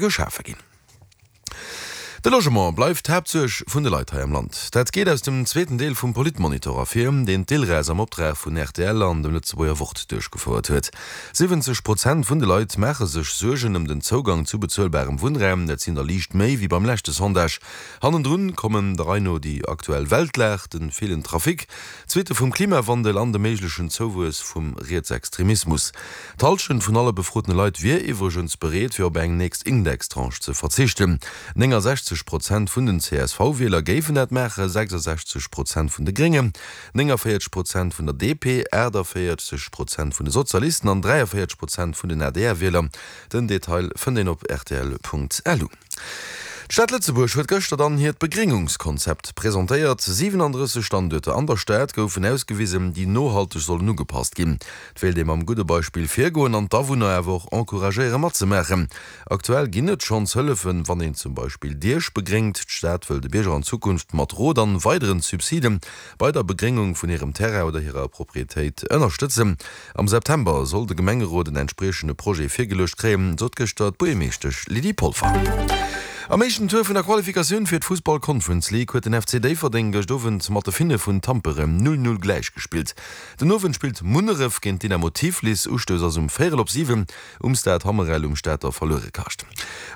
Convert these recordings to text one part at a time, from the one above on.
geschafe ginn. De Logement bleift d'Haaptsuerg vun de Leit hei am Land. Dat geet aus dem zweeten Deel vum Politmonitor ervir, deen d'ILRES am Optrag vun rtl an dem Lëtzebuerger Wort duerchgefouert huet. 70 Prozent vun de Leit maache sech Suergen ëm den Zougang zu bezuelbarem Wunnraum. Dat sinn der liicht méi wéi beim leschte Sondage. Hannendrun kommen der Rei no déi aktuell Weltlag, de villen Trafic, d'Suitte vum Klimawandel an de méiglechen Zouwuess vum Rietsextremismus. D'Hallschent vun alle befrotene Leit wier iwwregens bereet, fir op eng nächst Indextranche ze verzichten. 69 Prozent vun den CSV-Wieler géifen dat maachen, 66 Prozent vun de Gréngen, 49 Prozent vun der DP, 48 Prozent vun de Sozialisten an 43 Prozent vun den ADR-Wieler. Den Detail fënnt een op rtl.lu. D'Stad Lëtzebuerg huet gëschter dann hiert Begréngungskonzept presentéiert. 37 Standuerter an der Stad goufen ausgewisen, déi nohalteg sollen ugepasst ginn. Et wéilt ee mam gudde Beispill virgoen an d'Awunner awer och encouragéiere matzemaachen. Aktuell ginn et schonns Hëllefen, wann een zum Beispill Diech begréngt. D'Stad wëll de Bierger an Zukunft mat Rot an weideren Subside bei der Begréngung vun hirem Terrain oder hirer Proprietéit ënnerstëtzen. Am September soll de Gemengerot en entspriechende Projet virgeluecht kréien, sot gëschter d'Buergermeeschtesch Lydie Polfer. Am éischten Tour vun der Qualifikatioun fir d'Fussball Conference League huet den FC Déifferdeng gëscht Owend mat de Finne vun Tampere 0, 0 gläichgespillt. Den Owend spillt Munneref géint Dynamo Tiflis. Ustouss ass um véierel op 7 um Stade Hammerel um Stater Verluerekascht.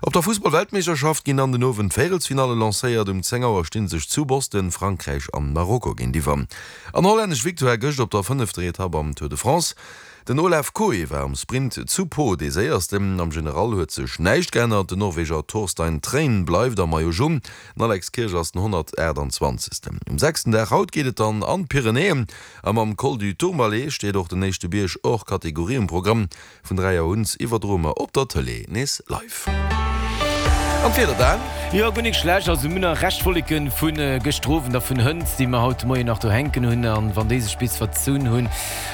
Op der Fussball-Weltmeeschterschaft ginn dann den Owend d'Véierelsfinalle lancéiert. Um 10 Auer sti sech zu Boston Frankräich an Marokko géintiwwer. An hollännesch Victoire gëscht op der fënnefter Etapp am Tour de France. Den Olav Kooij war am Sprint zu Pau dee séiersten. Am General huet sech näischt geännert, den Norweger Torstein Træen bleift am Maillot Jaune, den Alex Kirsch ass den 128. Um sechsten Dag haut geet et dann an d'Pyrenäen a mam Col du Tourmalet steet och den éischte Bierg hors Catégorie um Programm. Vun 3 Auer un iwwerdroe mer op der Tëlee nees live. An d'Wieder Dan? Jo, guer nik schlecht. Also mir hunn nach Rescht Wolleken vu gëschter Owend a vun hënt, déi mer haut de Moien nach do hänken hunn. An wann déi sech bis verzunn hunn,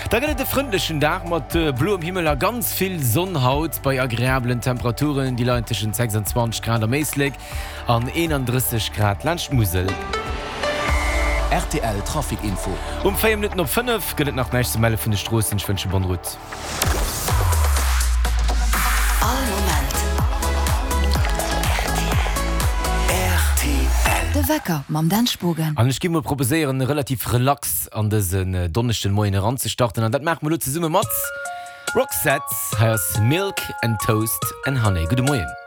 da gëtt et e frëndlechen Dag mat bloem Himmel a ganz vill Sonn haut bei agreabelen Temperaturen, déi leien tëschent 26 Grad am Éislek an 31 Grad laanscht d'Musel. Rtl Trafic Info. Um 4 Minutten op 5 gëtt et nach näischt ze melle vun de Stroossen. Ech wënsche bonne route. All Moment rtl. De Wecker mam Dan Spogen. An ech géif mol proposéieren, relativ relax an dësen Donneschden Moien eranzestarten. An dat maache mer elo zesumme mat Roxette. Hei ass Milk and Toast and Honey. Gudde Moien.